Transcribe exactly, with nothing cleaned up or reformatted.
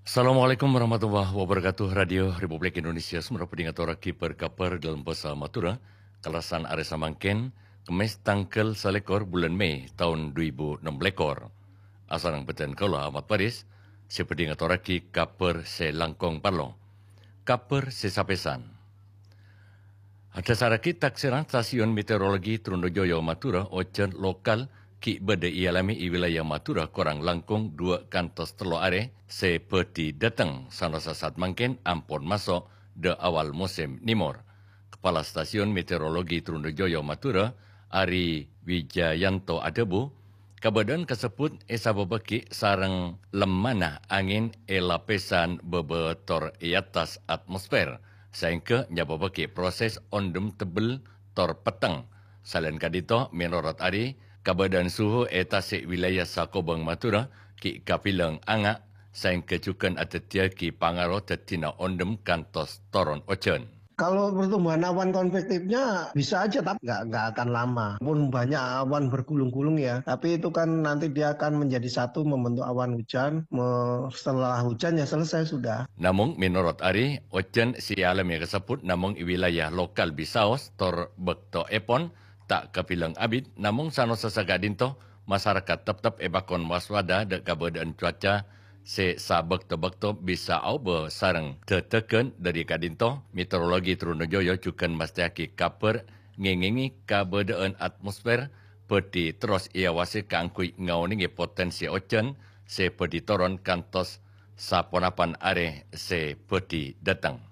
Assalamualaikum warahmatullahi wabarakatuh. Radio Republik Indonesia Songennep bhâdhi ngatorraghi bâr-kabhâr dâlem bhâsa Madhurâ, kalasan arè samangkèn, Kemmès tangghâl salèkor bulân Mei taon du èbu ennem lèkor. Asareng bhâdhân kaulâ Ahmad Faris, sè bhâdhi ngatorraghi kabhâr sè langkong parlo. Kabhâr sè sapèsan. Adhâsarraghi taksèran Stasiun Meteorologi Trunojoyo Madhurâ, ojhân lokal ghi' bâdâ èalamè è wilayah Madhurâ korang langkong duwâ' kantos tello arè sè bhâdhi dâteng, sanaossa saat mangkèn ampon maso' dâ' awal mosèm nèmor. Kepala Stasiun Meteorologi Trunojoyo Madhurâ, Ari Wijayanto adhâbu, kabâdâ'ân kasebbhut èsabâbbhâghi sareng lemmana angèn è lapèsan bâbâ tor è attas atmosfer, saèngghâ nyabâbbhâghi proses ondhem tebbel tor petteng. Salaèn ka'dinto, mènorot Ari, kabâdâ'ân suhu è tasè' wilayah sakobhâng Madhurâ ghi' kabilang anga', saèngghâ jhughân adhâddhiyâghi pangaro dhâddhina ondhem kantos toron ojhân. Kalau pertumbuhan awan konvektifnya bisa aja, tapi nggak, nggak akan lama. Pun banyak awan bergulung-gulung ya, tapi itu kan nanti dia akan menjadi satu membentuk awan hujan. Me-, setelah hujan ya selesai sudah. Namong mènorot Ari, ojhân sè èalamè kasebbhut namong è wilayah lokal bisaos tor bâktoèpon ta' kabilang abit, namong sanaossa saka'dinto, masarakat teptep èpakon waspada dâ' kabâdâ'ân cuaca sè sabâkto-bâkto bisa aobâ sareng dâdâghân. Dâri ka'dinto, Meteorologi Trunojoyo jhughân mastèyaghi kabhâr ngèngèngè kabâdâ'ân atmosfer bhâdhi terros èawasè kaangghuy ngaonèngè potènsi ojhân sè bhâdhi toron kantos saponapan arè sè bhâdhi dâteng.